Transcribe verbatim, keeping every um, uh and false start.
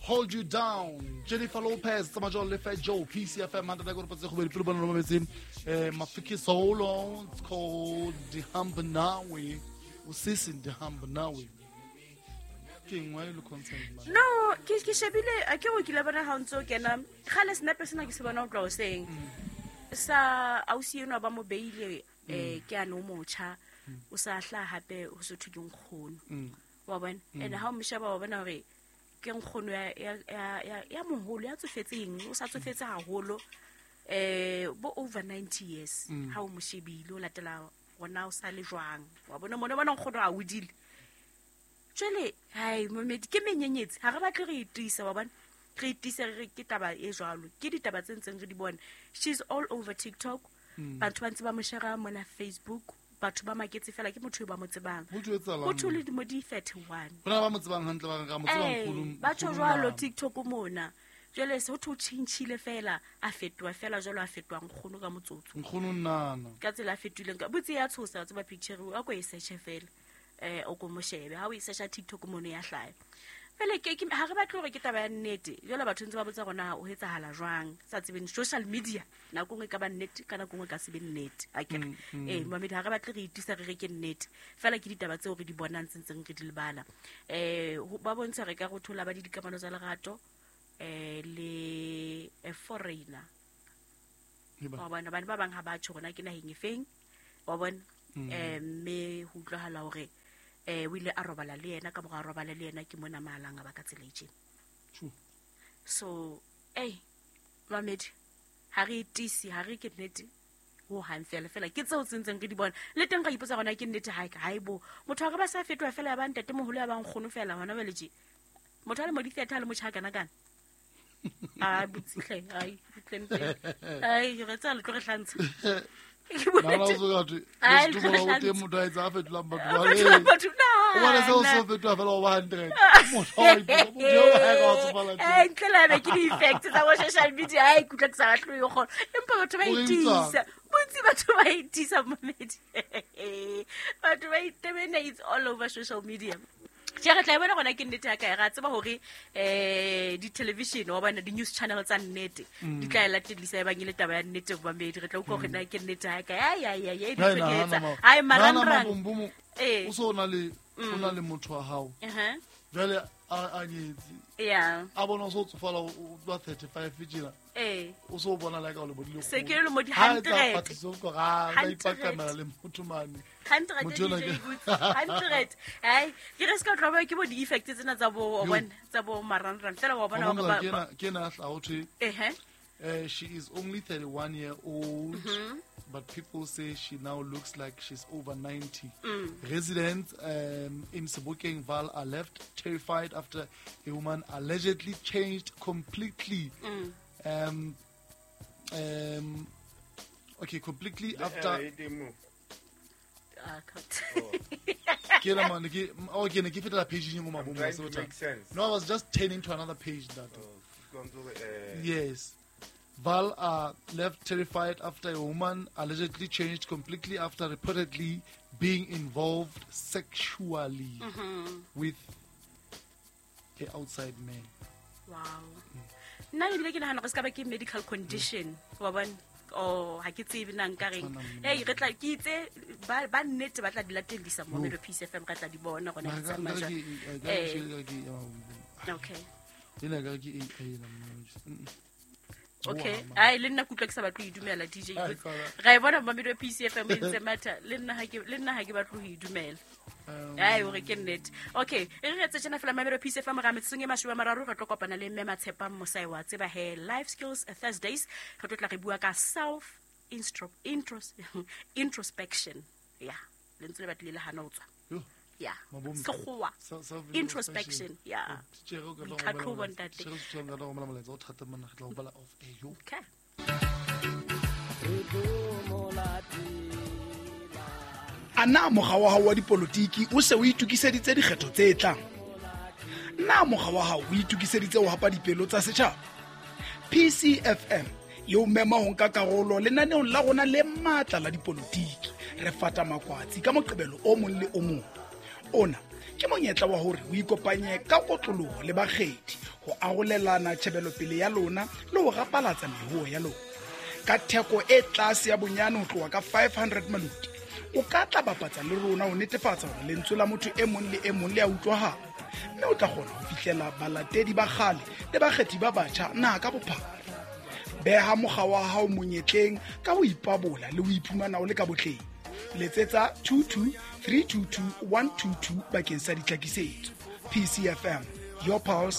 Hold You Down, Jennifer Lopez, tsamaya le Fat Joe, P C F M, hundred go patse go pele bona lo mametse eh Mafiki Solo, it's called Ndihamba Nawe. Usisi Ndihamba Nawe. King, why you look concerned, man? No, ke ke shebile a ke o kile bona ha ntso kena. Khale snap sena ke se bona o tlo seng. Sa ausi eno ba mo beile eh ke a no motjha. O sa hla hape ho se thwe ke nkgono. Wa bona? And ha o mshaba wa bona hore ke nkgono ya ya ya ya moholo ya tsofetseng, o sa tsofetse haholo eh bo over ninety years. Ha o mo shebile o latela gona o sa le jwang. Wa bona mona bona nkgono a hodile. Jwale hai momedi ke menyenyetsi ha re batle re itisa wa bona re itise re ke taba e jwalo ke ditaba tse ntseng re di bona. She's all over TikTok. Batho ba ntse ba mo share mona Facebook, batho ba maketse fela ke motho ba mo tsebang. Ho thole di mo di thirty-one. Bona ba mo tsebang hantle ba re mo tsebang nkgono. Ba tjho jwalo TikTok mona. Jwale se ho thwe tjhintjhile fela a fetoha fela jwalo a fetoha nkgono ka motsotso. Nkgono nnana. Ka tsela a fetohileng ka botse ya tshosa tseba picture o ko e search fela. Eh o ko moshebe ha o e search TikTok mono ya hlaya. Fela ke ha re batle hore ke taba ya nnete. Jwale batho ntse ba botsa rona o etsahala jwang sa tsebeng social media nako nngwe ka ba nnete ka nako nngwe ka se be nnete. A ke eh mamedi ha re batle re itisa re re ke nnete. Fela ke ditaba tseo re di bonang tsentseng re di lebala. Eh ba bontsha re ka go thola ba di dikamano tsa lerato eh le a foreigner. Wa bona bana ba bang ha ba tjho rona ke naheng efeng. Wa bona eh mme ho utlwahala hore eh o ile a robala le yena ka mora robala le yena ke mona mahalanga ba ka tsela e. So eh mamedi ha re itisi ha re ke nnete ho hang fela fela ke tseo tsentseng re di bona le teng ka ipotsa gona ke nnete ha ha e bo motho a re ba sa fetoha fela ya ba ntate moholo ya ba nkgono fela hona jwale tje motho a le mo di theater le motjha kana kana a botsihle ai tlempe ai re tsa le tlo re hlantsha. Na la zo gatwe le se o teng motho a etsa a fetolang batho ba batho na o bona se o se fetoha fela o ba hundred motho a ipotsa motho o ha ka tsofala eh ntle la be ke di effects tsa bo social media ai kutlwa ke sa batle yo gona empa batho ba itisa bontsi batho ba itisa momedi batho ba itebena it's all over social media. Tje re tla bona gona ke nnete ya kae ra tseba hore eh di television wa bona di news channel tsa nnete di tla latellisa e bang ile taba ya nnete ba medi re tla utlwa hore na ke nnete ya kae ai ai ai di tshwetsa ai marangrang eh o so na le o na le motho wa hao eh jwale a a nyetse yeah a bona o so tsofala o ba thirty-five tjena eh o so bona like o le bodile se ke le mo di hundred ha tsa go ga ba ipakamela le motho mane hundred hundred ai ke re ska tloba ke bo di effect tsena tsa bo bona tsa bo marangrang fela wa bona ba ke na hla ho thwe eh eh she is only thirty-one year old. Mm-hmm. But people say she now looks like she's over ninety. Mm. Residents um, in Sebokeng Val are left terrified after a woman allegedly changed completely. Mm. Um, um, okay, completely the after. No, I was just turning to another page. That. Oh, uh, yes. Val are left terrified after a woman allegedly changed completely after reportedly being involved sexually mm-hmm. with an outside man. Wow. Nna ebile ke nahana go ska ba ke medical condition wa bona o ha ke tsebe nna nka reng hey re tla ke itse ba ba nnete ba tla di latellisa mo Metro P C F M re tla di bona gona ke tsamaya eh okay ena ka ke A I la okay ai le nna kutlwa ke sa batle ho idumela D J ra e bona Mamelodi P C F M e ntse matha le nna ha ke le nna ha ke batle ho idumela ai hore ke nnete okay e re etse tjena fela Mamelodi P C F M ra metsotsong e mashome a mararo re tlo kopana le mme Matshepang Mosai wa tseba he Life Skills Thursdays re tlo tla re bua ka self intros introspection yeah lentswe le batle le hana ho tswa yeah sekgowa introspection yeah boitlhatlhobo ntate okay. A na mokga wa hao wa dipolotiki o se o itokiseditse dikgetho tse tlang? Na mokga wa hao o itokiseditse ho hapa dipelo tsa setjhaba? P C F M e o mema ho nka karolo lenaneong la rona le matla la dipolotiki. Re fata makwatsi ka moqebelo o mong le o mong. Ona ke monyetla wa hore o ikopanye ka kotloloho le bakgethi Ho arolelana tjhebelopele ya lona le ho rapalatsa mehoo ya lona. Ka theko e tlase ya bonyane ho tloha ka five hundred maluti, o ka tla bapatsa le rona ho netefatsa hore lentswe la motho e mong le e mong le a utlwahala, mme o tla kgona ho fihlela balatedi ba kgale le bakgethi ba batjha naha ka bophara. Beha mokga wa hao monyetleng ka ho ipabola le ho iphumana o le ka botleng. Letsetsa two two three two two one two two bakeng sa ditlhakisetso. P C F M, your pulse.